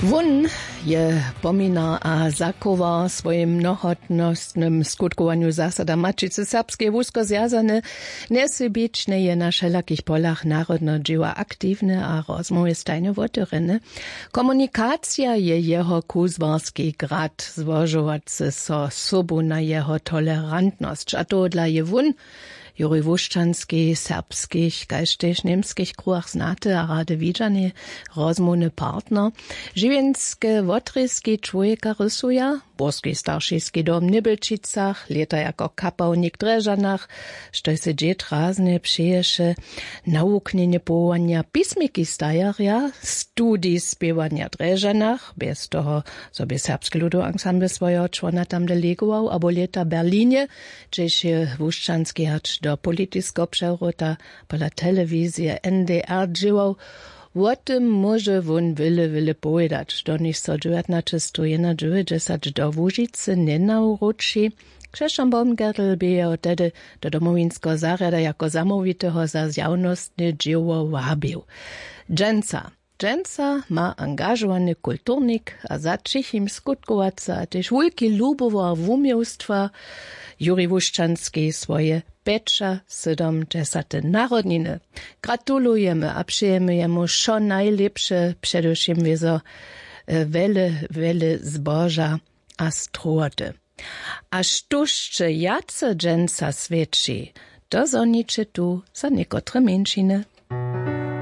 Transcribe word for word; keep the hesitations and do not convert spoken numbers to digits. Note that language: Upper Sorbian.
Wón je pominar a zachowa w swojim mnohotnostnym skutkowanju zasada maćicy serbskeje wusko zwjazany. Njesybične je na wšelakich polach narodneho dźěła aktiwny a rozmołwje stajnje wotewrjeny. Komunikacija je jeho kuzłarski grad, złožowacy so sobu na jeho tolerantnosć, a tohodla je wón, Jurij Wušćanski, w serbskich kaž tež w němskich kruhach znaty a rady widźany rozmołwny partner. Žiwjenske wotrězki čłowjeka rysuja, burski staršiski dom w Nybelčicach, lěta jako kapałnik w Drježdźanach, štož sej dźěd raznje přeješe, nawuknjenje powołanja pismiki stajerja, studij spěwanja w Drježdźanach, bjez toho zo bě serbski ludowy ansambl swojeho čłona tam delegował, abo lěta w Berlinje, hdźež je Wušćanski hač do politiskeho přewróta pola telewizije N D R dźěłał. Wo tym móže wón wjele wjele powědać, doniž so dźewjatnaćestowjednadźewjećdźesat do Łužicy njenawróći. Křesćan Baumgartl bě jeho tehdy do domowinskeho zarjada jako zamołwiteho za zjawnostne dźěło wabił. Dźensa dźensa ma angažowany kulturnik a za ćichim skutkowacy a tež wulki lubował wuměłstwa Jurij Wušćanski swoje pjećasydomdźesate narodniny. Gratulujemy a přejemy jemu wšo najlěpše, předewšěm wězo wjele wjele zboža a strowoty. A štóž će wjace dźensa swjeći, to zhoniće tu za někotre mjeńšiny.